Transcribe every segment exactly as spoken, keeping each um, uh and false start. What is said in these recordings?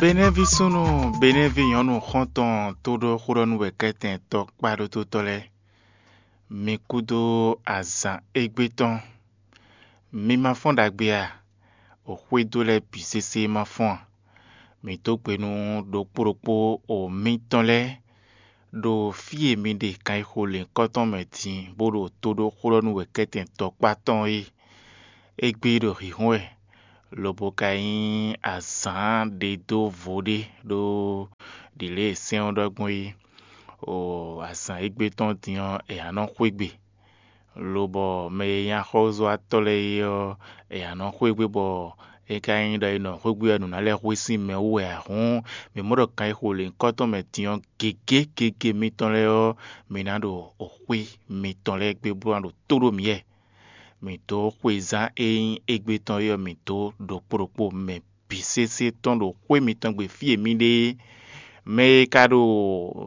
Benɛ́ví súnnu, Benɛ́ví nyɔ̌nu xɔ́ntɔn tóɖó xó ɖɔ nú wɛ̌kɛ́tɛn tɔkpá ɖótótɔ́ lɛ́ɛ, mi kúdó azǎn égbé tɔn. Mi ma fɔ́n ɖagbe a? O xwédo lɛ́ɛ bǐ sésé ma fɔ́n a? Mi dó gbe nú ɖokpó ɖokpó o mitɔn lɛ́ɛ ɖo fí e mi ɖe kan e xo lěhunkɔtɔn mɛ din bó ɖo tó ɖó xó ɖɔ nú wɛ̌kɛ́tɛn tɔkpá tɔn é. Égbé ɖo hǐhún wɛ, lobo ka nyí azǎn ɖe dó vo ɖé ɖó ɖǐ lě e sɛ́n ɔ́ ɖɔ gbɔn é. O azǎn égbé tɔn din ɔ́, è nǎ nɔ xwé gbe. Lobɔ mɛ e nyí axɔ́zɔ́watɔ́ lɛ́ɛ é ɔ́, è nǎ nɔ xwé gbe bɔ é ka nyí ɖɔ è nɔ xwé gbe ɔ́, nǔ ná lɛ́ hwe sín mɛ wú wɛ ǎ hǔn, mǐ mɔ ɖɔ kan e xo lěhunkɔtɔn mɛ din ɔ́, gěgé gěgé mitɔn lɛ́ɛ ɔ́, mi ná ɖo xwé mitɔn lɛ́ɛ gbe bó ná ɖo tó ɖó mǐ wɛ. Mǐ dó xwezán e nyí égbé tɔn é ɔ́, mǐ dó ɖokpó ɖokpó mɛ bǐ sésé tɔn ɖo xwé mitɔn gbe fí e mǐ ɖe é. Mɛ e ka ɖo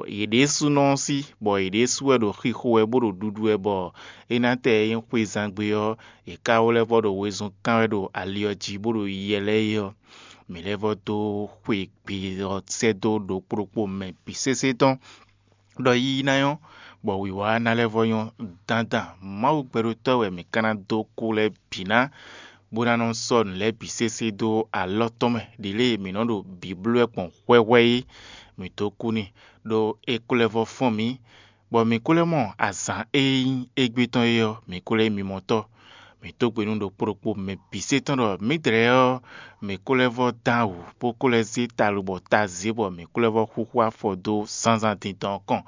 yě ɖésúnɔ ɔ́ sí, bɔ yě ɖésú wɛ ɖo xixo wɛ bó ɖo ɖuɖu wɛ, bɔ é ná tɛ e nyí xwezán gbe ɔ́, yě ka wó lɛ́ vɔ́ ɖo wezun kán wɛ ɖo ali ɔ́ jí bó ɖo yiyɛ lɛ́ɛ é ɔ́, mǐ lɛ́ vɔ́ dó xwe gbe ɔ́ sɛ́ dó ɖokpó ɖokpó mɛ bǐ sésé tɔn. Ɖɔ yiyi ná nyɔ́, bɔ wǐwá ná lɛ́ vɔ́ nyɔ́ dandan. Mawu gbɛɖótɔ́ wɛ mǐ ka ná dó kú lɛ́ɛ bǐ ná, bó ná nɔ sɔ́ nǔ lɛ́ɛ bǐ sésé dó alɔ tɔn mɛ. Ɖě lée mǐ nɔ ɖo bǐ bló wɛ gbɔn hwɛhwɛ é, mǐ dó kú n'i, ɖó é ko lɛ́ vɔ́ fɔ́n mǐ, bɔ mǐ ko lɛ́ mɔ azǎn e nyí égbé tɔn é ɔ́, mǐ ko lɛ́ nyí mimɔtɔ́. Mǐ dó gbe nú ɖokpó ɖokpó mɛ bǐ sésé tɔn ɖɔ mǐdɛɛ ɔ́, mǐ ko lɛ́ vɔ́ dán wǔ, bó ko lɛ́ zé ta lobɔ ta zě bɔ mǐ ko lɛ́ vɔ́ xúxú afɔ dó zǎnzǎn dindɔn ɔ́ kɔn.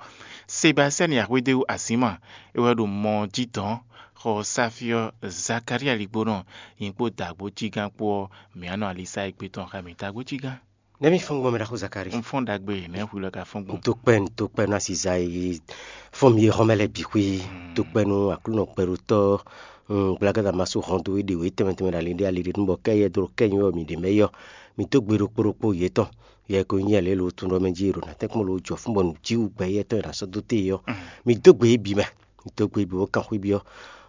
Sebastiyani Axwédéwu Azǐma, é wɛ ɖo mɔ ɔ́ jí dɔ̌n, xɔ ɔ́ sáfí ɔ́, Zakalía Ligbónɔ, nyɛ kpó dǎgbójígán kpó ɔ́, mǐ wá nɔ alisá égbé tɔn xá mǐ dǎgbójígán. Nɛ̌ mi fɔ́n gbɔn, mɛ ɖaxó Zakalí? Un fɔ́n ɖagbe, nɛ̌ hwi lɔ ka fɔ́n gbɔn? Dókpɛ́, dókpɛ́ nú asiza e fɔ́n mi e xɔ́mɛ lɛ́ɛ bǐ xwí. Dókpɛ́ nú Aklúnɔ gbɛɖótɔ́, gblagáda ma sú hɔn dó é ɖě wǒ é tɛnmɛ tɛnmɛ ɖo ali ɖé ali ɖé nú bɔ kɛ́ yɛ dó ɖo kɛ́ nyɔ́ mi ɖě mɛ yɔ. Mi dó gbe ɖokpó ɖokpó yětɔn. Yɛ ko nyí yɛ lě lo tun ɖɔ mɛ jí e ɖo nǎ tɛ́nkpɔ́n lo jɔ fún bɔ nǔjíwǔ gbɛ yɛ́tɔn e nǎ sɔ́ dó te ɔ́. Mi dó gbe é bǐ mɛ. Mi dó gbe é bǐ bó kan xwé byɔ́,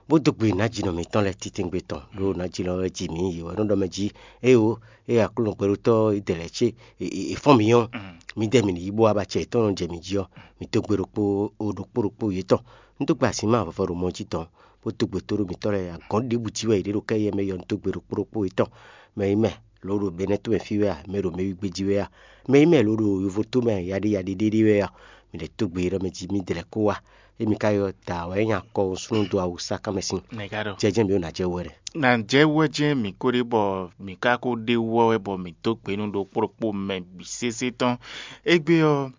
bó dó gbe nǎjínɔ mǐtɔn lɛ́ɛ titewungbe tɔn, ɖó nǎjínɔ lɛ́ɛ ji mǐ yě wɛ nɔ ɖɔ mɛ jí. Éyo, ée Aklúnɔ gbɛɖótɔ́ é dɛ lɛ̌ cé è fɔ́n mǐ ɔ́, mǐdɛɛ mǐ ní yí bó wá ba acɛ yětɔn nɔ jɛ mǐ jí ɔ́, mǐ dó gbe ɖokpó ɖokpó ɖokpó yětɔn. Un dó gbe azǐn ma vɔvɔ ɖo mɔ jí dɔn, bó dó gbe tó ɖó mǐtɔn lɛ́ɛ, agɔ̌n ɖěbǔ jí wɛ yě ɖe ɖo kɛ́ yɛ mɛ yɔ un dó gbe ɖokpó ɖokpó yětɔn. Mɛ e mɛ lǒ ɖo Benɛ́ tomɛ fí wɛ a, mɛ e ɖo mɛ wígbé jí wɛ a, mɛ e mɛ lǒ ɖo yovo tomɛ yaɖé yaɖé ɖé ɖé wɛ a, mǐ lɛ́ dó gbe ɖɔ mɛ jí mǐ dlɛ̌ kó wá. Émi ka ylɔ́ da wɛ é nyí akɔ súnnu dó awu sá kánmɛ sín. Nɛ̌ ká ɖɔ? Jɛ jɛ́n mǐ ɖo nǎ jɛ wú wɛ ɖɛ. Nǎ jɛ wú wɛ jɛ́n mǐ ko ɖe bɔ mǐ ka ko ɖe wú ɔ́ wɛ bɔ mǐ dó gbe nú ɖokpó ɖokpó mɛ bǐ sésé tɔn. Égbé ɔ́,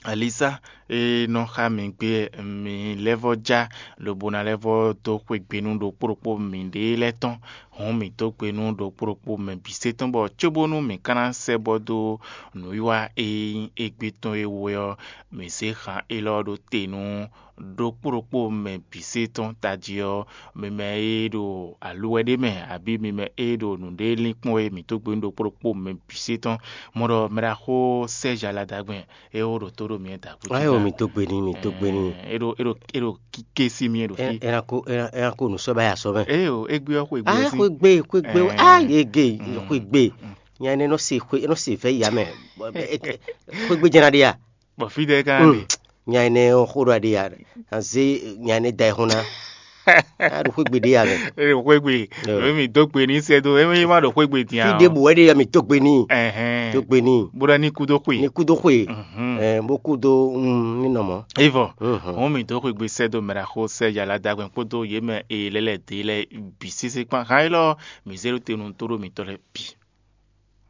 Alisa e nɔ xá mǐ gbé mǐ lɛ́ vɔ́ já, lobo ná lɛ́ vɔ́ dó xwegbe nú ɖokpó ɖokpó mǐɖée lɛ́ɛ tɔn. Hǔn mǐ dó gbe nú ɖokpó ɖokpó mɛ bǐ sésé tɔn bɔ cóbónú mǐ ka ná sɛ́ bɔ dó nǔwiwa e nyí égbé tɔn e wú ɔ́, mǐ zé han élɔ́ ɖó te nú ɖokpó ɖokpó mɛ bǐ sésé tɔn tají ɔ́, mi mɛ e ɖo aluwɛ ɖé mɛ, abǐ mi mɛ e ɖo nǔɖé lín kpɔ́n é, mǐ dó gbe nú ɖokpó ɖokpó mɛ bǐ sésé tɔn. Mɔ ɖɔ mɛ ɖaxó Sɛ́zi Aladagbɛn é wó ɖo tó ɖo mǐ da kú. Ayo, mi dó gbe n'i, mi dó gbe n'i. É ɖo é ɖo é ɖo kíké sí mì é ɖo fí. Ena ko ena ena ko nǔ sɔ́ bá ya sɔ́ mɛ. Eye o, égbé ɔ́ xwegbe Ah, sí. Xwegbe, xwegbe, Eh. Ah, yege, Mm. Xwegbe. Mm. Nya ne nɔ se xwe nɔ se vɛ ya mɛ. Xwegbe jɛna ɖe ya. Bɔ fí ɖe ká Mm. ɖe. Nya ne xo ɖo aɖe ya. Anze nya ne da ɛhɔn na. A ɖo xwegbe ɖe ya mɛ. Eye xwegbe. Yo. Emi dó gbe ní sɛ do emi ma ɖo xwegbe Fi dia. Ɖe bu wɛ ɖe ya mi tó gbe ní. Ɛhɛn. Tó gbe ní. Bó ɖɔ ní kú dó xwe. Ní kú dó xwe. Mhm. Ɛ bó kú dó mm, ní nɔ mɔ. Evɔ. Mhm. Wọn mi dó xwegbe sɛ do mɛ ɖaxó sɛ yàrá dagbɛn kpódó yé mɛ e lɛlɛ dé lɛ bǐ sésé kpán. Hàn é lɔ mi zé ɖó te nu tó ɖó mitɔ lɛ bǐ.